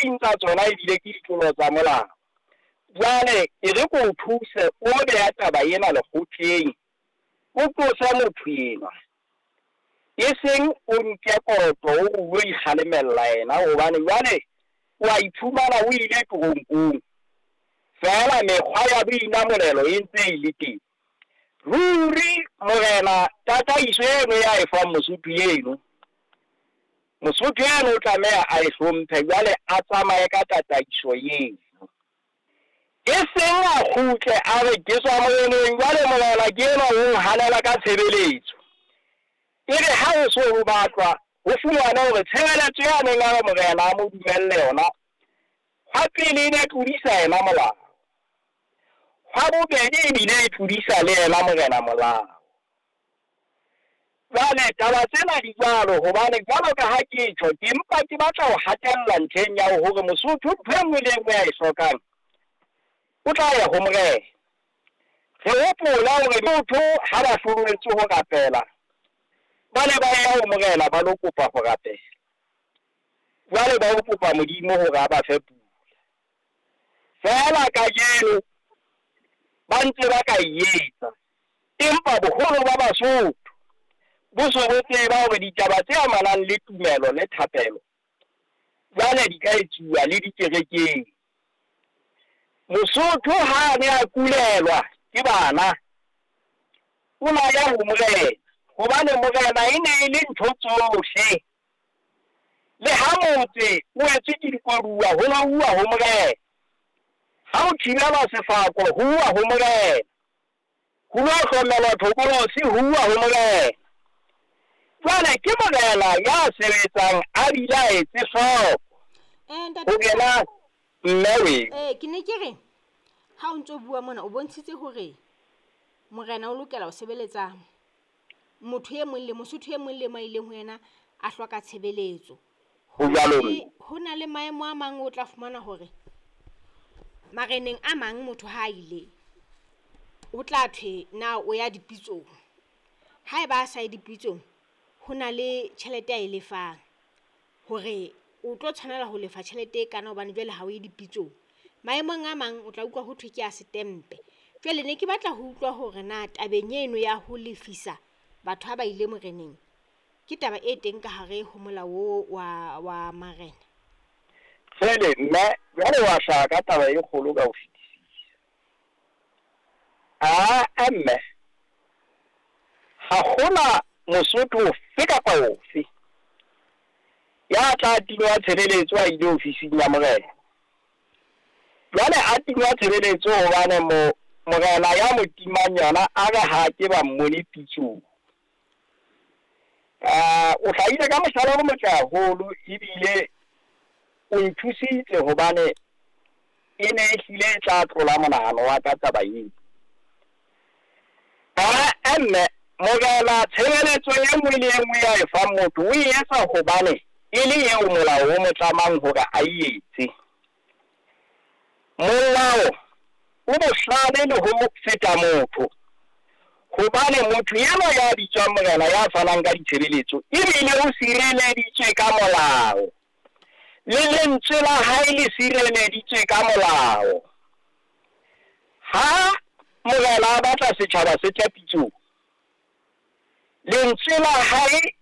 ding tsa tsona ebile ke ditlolo tsa molao. Jwale e re ko o thuse o beha taba ena lekgotleng, o tlose motho enwa. E seng o nke kotlo o re o lo ikgalemella yena hobane jwale o a iphumana o ile toronkong. Feela mekgwa ya boinamolelo e ntse e le teng. Ruri morena tataiso eno ya e fang Mosotho eno, Mosotho eno o tlameha a e hlomphe jwale a tsamaye ka tataiso eno. E seng a kgutle a re ke tswa moreneng jwale morena ke enwa o nhanela ka tshebeletso. E re ha ho so ho batlwa ho fumane hore tshebeletso ya neng a re morena a mo dumelle yona, hwa pele e ne tlodisa yena molao, hwa bobedi ebile e tlodisa le yena morena molao. Jwale taba tsena di jwalo hobane jwalo ka ha ke tjho, ke mpa ke batla ho hatella ntlheng ya hore Mosotho ntho e nngwe le e nngwe a e hlokang o tla ya ho morena. Re hopola hore motho ha ba hloletswe ho rapela, ba ne ba ya ho morena ba lo kopa ho rapela. Jwale ba ho kopa Modimo hore a ba fe pula. Feela kajeno ba ntse ba ka e etsa, empa boholo ba Basotho bo so bo tseba hore ditaba tse amanang le tumelo le thapelo jwale di ka etsuwa le dikerekeng. Mosotho ha a ne a kulelwa ke bana, o na ya ho morena, hobane morena e ne e le ntho tsohle. Le ha motse o etswe ke dikoduwa, ho no uwa ho morena. Ha o thibelwa sefako, ho uwa ho morena. Ho lo hlomelwa thokolosi, ho uwa ho morena. Jwale ke morena ya sebetsang a bile a etse hloko. Ho kena mme we. Ke ne ke re ha o ntso bua mona o bontshitse hore morena o lokela ho sebeletsa motho e mong le Mosotho e mong le mang a ileng ho yena a hloka tshebeletso. Ho jwalo mme. Ho na le maemo a mang o tla fumana hore mareneng a mang motho ha a ile o tla thwe na o ya dipitsong. Haeba a sa ye dipitsong, ho na le tjhelete a e lefang hore o tlo tshwanela ho lefa tjhelete e kana hobane jwale ha o ye dipitsong. Maemong a mang o tla utlwa ho thwe ke a setempe. Jwale ne ke batla ho utlwa hore na tabeng eno ya ho lefisa batho ha ba ile moreneng ke taba e teng ka hare ho molao wa marena. Jwale mme jwale wa hlaha ka taba e kgolo ka ho fetisisa. A mme ha hona Mosotho ofe kapa ofe ya tla tingwa tshebeletso a ile ofising ya morena. Jwale a tingwa tshebeletso hobane morena ya mo timang yona a re ha ke ba mmone pitsong. O hlahile ka mohlala o motle haholo ebile o nthusitse hobane e ne e hlile e tla tlola monahano wa ka taba eo. Mme morena tshebeletso e nngwe le e nngwe ya e fang motho o e etsa hobane e le eo molao o mo tlamang hore a e etse. Molao o bohlale le ho feta motho, hobane motho enwa ya bitswang morena ya fanang ka ditshebeletso ebile o sireleditswe ka molao, le lentswe la hae le sireleditswe ka molao. Ha morena a batla setjhaba se tle pitsong, lentswe la hae